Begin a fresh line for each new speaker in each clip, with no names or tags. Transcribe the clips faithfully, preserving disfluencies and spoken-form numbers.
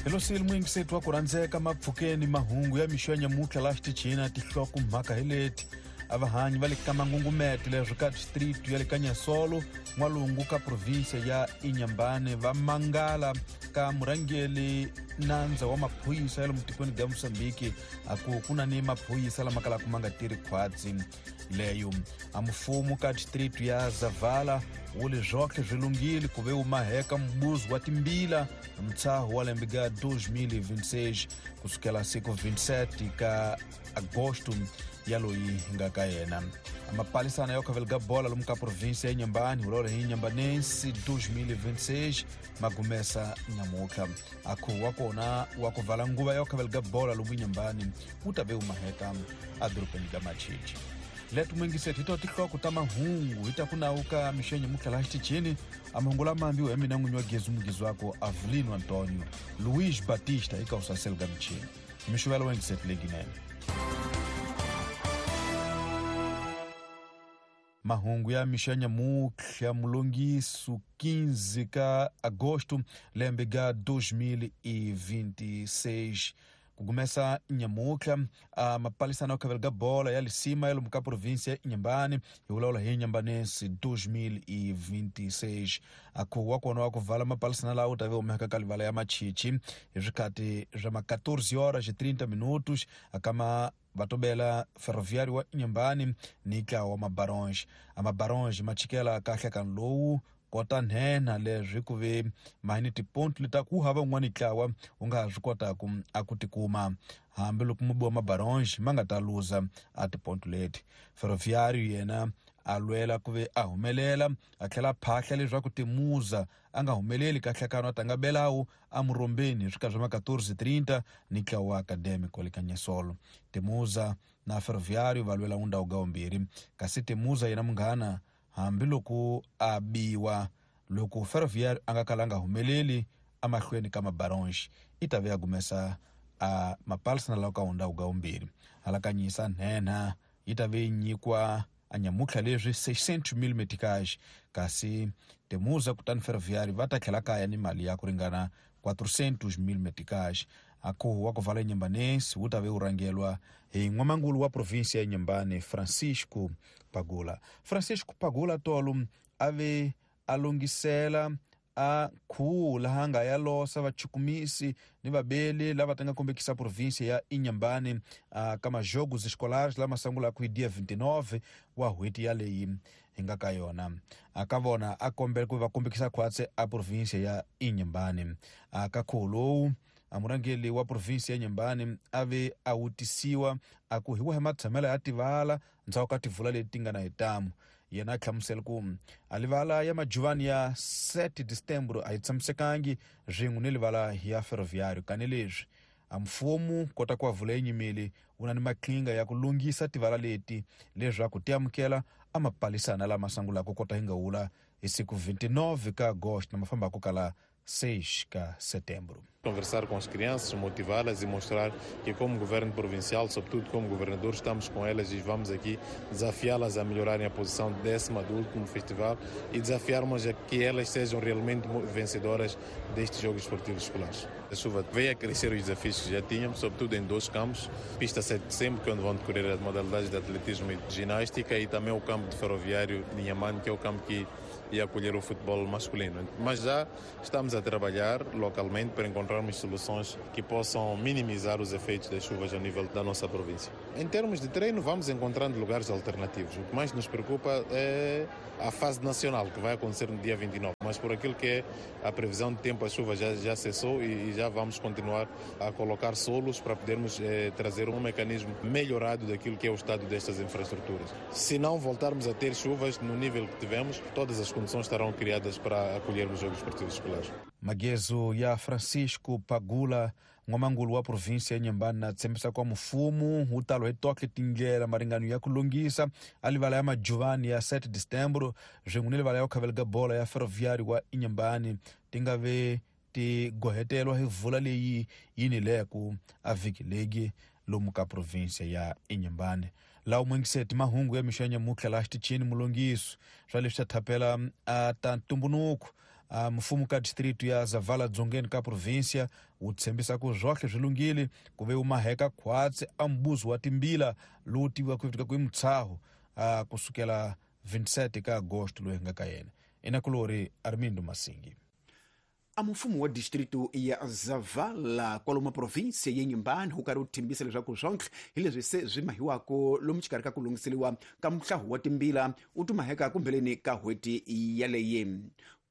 Helosile muyingiseti wa ku rhandzeka mapfukeni mahungu ya mixo ya nyamutlha laha xitichini tinhloko mhaka hi leti a vahanyi va le ka mangungumete leswi ka district ya le ka Nyasolo n'walungu ka province ya Inhambane va mangala ka murhangeri nandza wa maphorisa ya lomu tikweni ga Mozambique a ku ku na ni maphorisa lama kalaka ma nga tirhi khwatsi leyo a mfumo ka district ya Zavala wu le zwohle swi lunghile ku ve wu maheka mbuzi wa timbila mtshaho wa lembe ga dois mil e vinte e seis kusukela siku vinte e sete ka agosto ya loyi nga ka yena. Mapalisana ya khavela ga bola lomu ka province ya Inhambane hulolo hi Inhambanense dois mil e vinte e seis magumesa nyamutlha akhu wa kona wa ku vala nguva ya khavela ga bola lomu Inhambane wu ta ve wu maheka edorobeni ga Machichi. Leto muyingiseti hi to tinhloko ta mahungu hi ta ku nawu ka mixo ya nyamutlha laha xitichini a mahungu lama ambiwa hi mina n'winyi wa gezi mugizi wako Avelino Antonio Luiz Batista eka usaselo ga michini mixo ya yingiseti leyinene. Mahungu ya mixo ya nyamutlha mulongiso quinze ka agosto lembe ga dois mil e vinte e seis kugumesa nyamutlha a mapalisana ya khavela ga bola ya lisima ya lomu ka province ya Inhambane hi vulavula hi Inhambanense dois mil e vinte e seis akhu wa kona wa ku vala mapalisana lawa wu ta ve humeka ka livala ya Machichi hi swikhati swa ma quatorze horas e trinta minutos akama vatobela ferroviário wa Inhambane ni ntlawa wa Mabaronge. A Mabaronge ma chikela kahle ka lowu kota nhenha leswi ku ve mahini tiponto leta ku hava un'wana ntlawa wu nga ha swi kotaku a ku tikuma hambiloko mubi wa Mabaronge ma nga ta luza a tiponto leti. Ferroviário yena a lwela ku ve a humelela a tlhela a phahla leswaku Timuza a nga humeleli kahlekano a tanga belawu a murhombeni hi swikhathi swa ma quatorze trinta ni ntlawa wa Académico le ka Nyasolo. Timuza na Ferroviário va lwela undhawu ga vumbirhi kasi Timuza yena munghana hambiloko a biwa loko Ferroviário a nga kalanga humeleli emahlweni ka Mabaronge i ta ve a gumesa a mapalisana lawa ka undhawu ga vumbirhi. Halakanyisa nhenha yi ta ve yi nyikwa a nyamutlha leswi seiscentos mil meticais kasi Timuza kutani Ferroviário va ta tlhela kaya ni mali ya ku ringana quatrocentos mil meticais. Akhu wa ku vala Inhambanense wu ta ve wu rhangelwa hi n'wamangulu wa province ya Inhambane Francisco Pagula. Francisco Pagula tolo a ve a lunghisela a khuwu laha nga ya losa vachukumisi ni vabeli lava ta nga kombekisa province ya Inhambane ka majogos escolares lama sungulaka hi dia vinte e nove wa n'hweti yaleyi hi nga ka yona. A ka vona a kombela ku va kombekisa khwatsi a province ya Inhambane. A ka khuwu lowu a murhangeri wa province ya Inhambane a ve a wutisiwa a ku hi wahi matshamelo ya tivala ndzhaku ka tivula leti nga na hitamu. Yena a hlamusela ku a livala ya majuvani ya sete de setembro a yi tshamisekangi swin'we ni livala ya Ferroviário kani leswi a mfumo kota ku avula yinyimeli wu na ni maqhinga ya ku lunghisa tivala leti leswaku ti amukela a mapalisana lama sungulaka kota hi nga wula hi siku vinte e nove ka agosto na mafambako kala seis ka setembro.
Conversar com as crianças, motivá-las e mostrar que como governo provincial, sobretudo como governador, estamos com elas e vamos aqui desafiá-las a melhorarem a posição décima do último festival e desafiarmos a que elas sejam realmente vencedoras destes Jogos Esportivos Escolares. A chuva veio a crescer os desafios que já tínhamos, sobretudo em dois campos, pista sete de setembro, que é onde vão decorrer as modalidades de atletismo e de ginástica, e também o campo de Ferroviário de Inhambane, que é o campo que ia acolher o futebol masculino. Mas já estamos a trabalhar localmente para encontrarmos soluções que possam minimizar os efeitos das chuvas ao nível da nossa província. Em termos de treino, vamos encontrando lugares alternativos. O que mais nos preocupa é a fase nacional, que vai acontecer no dia vinte e nove. Mas por aquilo que é a previsão de tempo, a chuva já, já cessou e, e já vamos continuar a colocar solos para podermos eh, trazer um mecanismo melhorado daquilo que é o estado destas infraestruturas. Se não voltarmos a ter chuvas no nível que tivemos, todas as condições estarão criadas para acolhermos os Jogos Esportivos Escolares.
Magezo ya Francisco Pagula n'wamangulu wa province ya Inhambane na tshembisa kwa mfumo wu talo hi toke tindlela maringano ya ku lunghisa a livala ya majuvani ya sete de setembro swin'we ni livala ya ku khavela ga bola ya Ferroviário wa Inhambane ti nga ve ti gohetelwa hi vula leyi yi nileku a vhiki legi lomu ka province ya Inhambane. Laha muyingiseti mahungu ya mixo ya nyamutlha laha xitichini mulunghiso swa leswi swa thapela a ta ntumbuluko A mfumo ka distrito ya Zavala dzongeni ka província wu tshembisa ku zwohle swi lunghile ku ve wu maheka khwatsi a mbuzo wa timbila lowu tiviwaka ku i mutshaho a kusukela vinte e sete ka agosto loyi nga ka yena. Inakulori Armindo Masingi.
A mfumo wa distrito ya Zavala kwalomu província ya Inhambane wu karhi wu thembisa leswaku swontlhe hi leswi se swi mahiwako lomu xikarhi ka ku lunghiseriwa ka muhlahu wa timbila wu tumaheka kumbeleni ka n'hweti yaleyi.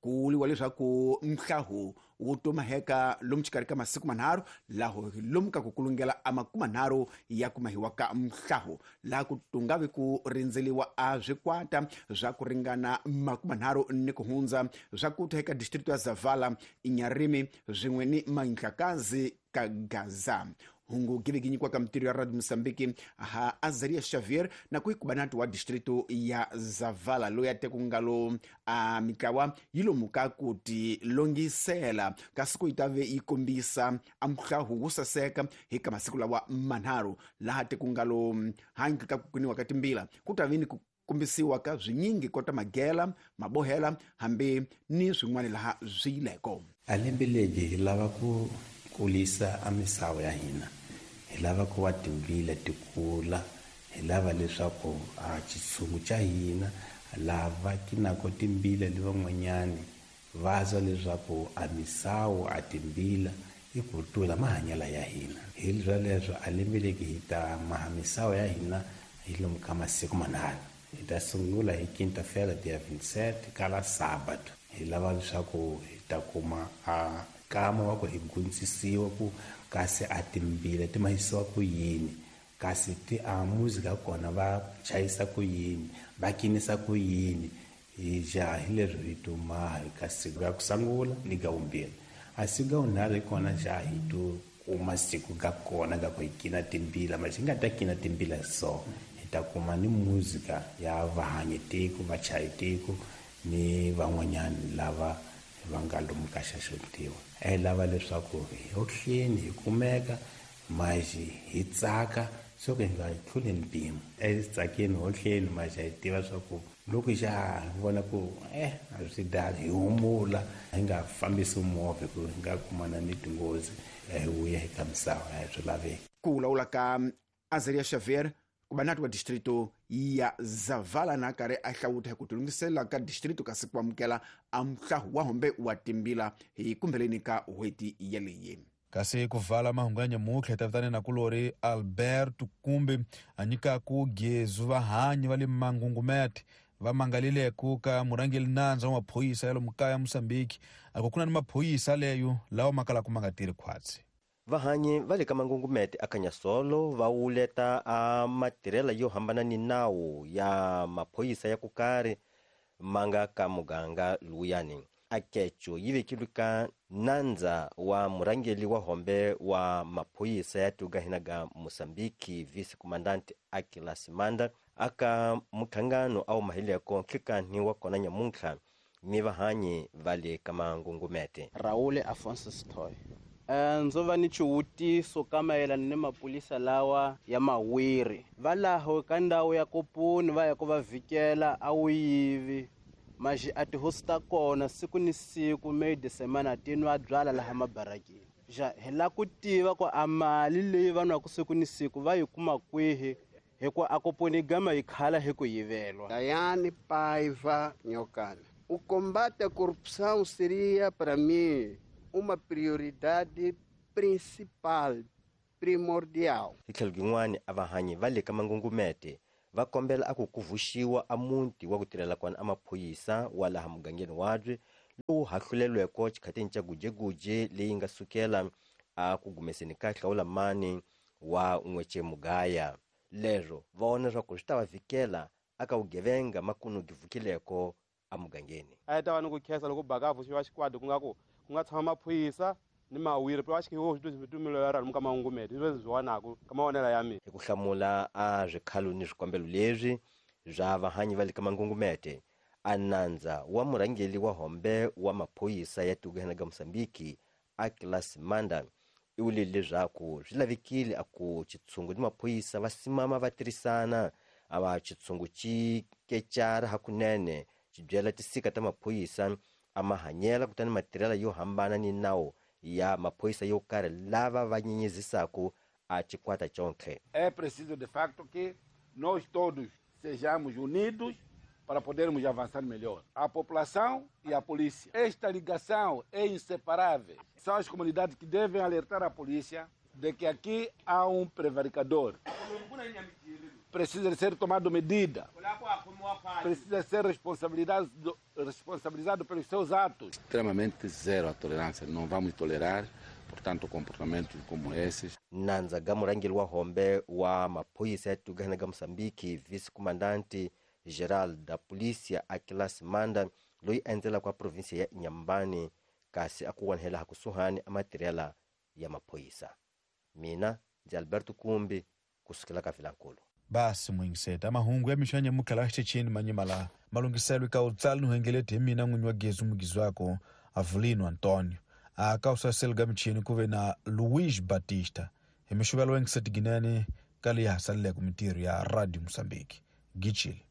Ku vuriwa leswaku mhlahu wu tumaheka lomu xikarhi ka masiku manharhu, laho lomu ka ku kulungela a makumanharhu ya ku mahiwa ka mhlahu, laha ku tungavi ku rindzeliwa a swikwata swa ku ringana makumanharhu ni ku hundza swa ku ta eka distrito ya Zavala, Inyarimi swin'we ni Manhlakazi ka Gaza. Hungu giveki nyikiwaka mitirho ya Radio Mozambique ha Azaria Xavier na ku ikubanati wa distrito ya Zavala loyi a teku ngalo a mitlawa yi lomuka ku ti longisela kasi ku yi ta ve yi kombisa a muhlahu wo saseka hi ka masiku lawa manharhu, laha teku ngalo handle ka ku kuniwa ka timbila ku ta ve ni ku kombisiwa ka swinyingi kota magela, mabohela hambi ni swin'wana laha swi yileko.
A lembe leri hi lava ku kulisa a misawu ya hina, hi lava ku va timbila ti kula, hi lava leswaku a xitshungu xa hina lava kinako timbila le van'wanyani va zwa leswaku a misawu a timbila i ku tlula mahanyelo ya hina. Hi swoleswo a lembe leri hi ta maha misawu ya hina hi lomu ka masiku manharhu. Hi ta sungula hi quinta-feira dia vinte e sete kala sábado. Hi lava leswaku hi ta kuma a kama wa ku hi gundzisiwa ku kasi a timbila ti mahisiwa ku yini, kasi ti a muzika kona va chayisa ku yini, va kinisa ku yini. Hi ja hi leswi hi tuma hi ka siku ra ku sungula ni ga vumbirhi. A siku ga vunharhu hi kona ja hi tu kuma siku ga kona ga ku hi kina timbila, ma xi nga ta kina timbila so hi ta kuma ni muzika ya vahanyi tiko, vachayi tiko ni van'wanyani lava va nga lomu ka xaxotiwa. A hi lava leswaku hi hohleni hi kumeka maxi hi tsaka swo ku hi nga tluli mpimo. A hi tsakeni hohleni maxi hi tiva swa ku loko xa hi vona ku eh a swi dali hi humula, hi nga fambisi movha ku hi nga kumana ni tinghozi hi vuya hi ka misava a hi swi laveki.
Ku vulavula ka Azaria Xavier kubanati wa distrito ya Zavala na karhi a hlawuta hi ku tilunghisela ka distrito kasi ku amukela a muhlahu wa hombe wa timbila hi kumbeleni ka n'hweti yaleyi.
Kasi ku vala mahungu ya nyamutlha hi ta vitana na kulori Alberto kumbe a nyikaku gezu vahanyi va le Mangungumete va mangalileko ka murhangeri nandza wa maphorisa ya lomu kaya Mozambique a ku kuna ni maphorisa leyo lawa ma kalaka ma nga tirhi khwatsi.
Vahanyi va le ka Mangungumete a Kanyasolo va wuleta a matirhela yo hambana ni nawu ya maphorisa ya ku karhi ma nga ka muganga luyani. Akecho yi vekilwe ka nandza wa murhangeri wa hombe wa maphorisa ya tugahina ga Mozambique vice comandante Akilas Manda aka mukhangano a wu mahileko nhlikanhi wa kona nyamuntlha ni vahanyi va le ka Mangungumete.
Raul Afonso Stoy. Ndzo va ni xivutiso ka mayelana ni maphorisa lawa ya mawiri va laho ka ndhawu ya Kopuni va ya ku va vhikela a wu yivi maxi a tihosi ta kona siku ni siku meyi semana ti nwa byala laha mabarakeni. Ja hi la ku tiva ku a mali leyi va nwaka siku ni siku va yi kuma kwihi, hikuva a Kopuni gama yi khala hi ku yivelwa.
Dayane Paiva Nyokana. O combate à corrupção seria para mim uma prioridade principal, primordial.
Hi tlhelo rin'wana a vahanyi va le ka Mangungumete va kombela a ku ku vuxiwa a muti wa ku tirhela kona a maphorisa wa laha mugangeni wabye lowu hahlulelweko xikhatini xa gujeguje leyi nga sukela a ku gumeseni ka hlawulamani wa n'wece mugaya. Leswo va vona leswaku swi ta va vhikela aka vugevenga makunu givukileko emugangeni.
A hi ta va ni ku khensa loko baka a vuxiwa xikwadi ku nga ku ku nga tshama maphorisa ni mawiri va xikhiwo tumelo ya rona ka Mangungumete leswi swi vonaka ka mavonelo ya mina.
Hi ku hlamula a swikhalo ni swikombelo leswi swa vahanyi va le ka Mangungumete, a nandza wa murhangeri wa hombe wa maphorisa ya tugahena ga Mozambique Akilas Manda i vule leswaku swi lavekile a ku xitshungu ni maphorisa va simama va tirhisana, a va xitshungu xi kecara hakunene xi byela tisika ta maphorisa a mahanyela kutani matirhela yo hambana ni nawu ya maphorisa yo karhi lava va nyenyezisaku a chikwata chonke.
É preciso de facto que nós todos sejamos unidos para podermos avançar melhor. A população e a polícia. Esta ligação é inseparável. São as comunidades que devem alertar a polícia de que aqui há um prevaricador. Precisa ser tomado medida. Precisa ser responsabilizado, responsabilizado pelos seus atos.
Extremamente zero a tolerância. Não vamos tolerar, portanto, comportamentos como esses.
Nandza ga murangeli wa hombe wa maphorisa ya Tugana ga Mozambique, vice-comandante geral da polícia Aquilas Manda, loyi a endzelaka wa província ya Inhambane, kasi a ku wanhela kusuhani a matirhela ya maphorisa. Mina ndzi Alberto Kumbi kusukela ka Vilankulu.
Basi mwingiseta mahungu ya mixanya mukhala xitechini manyimala malungiselo ka utsali nuhengeleti hi mina n'winyi wa gezi mugizi wako Avelino Antonio aka usaseli ka michini ku ve na Luiz Batista hi mixuvelo wengiseti ginene ka leyi hasaleleke mintirho ya Radio Mozambique. Gichile.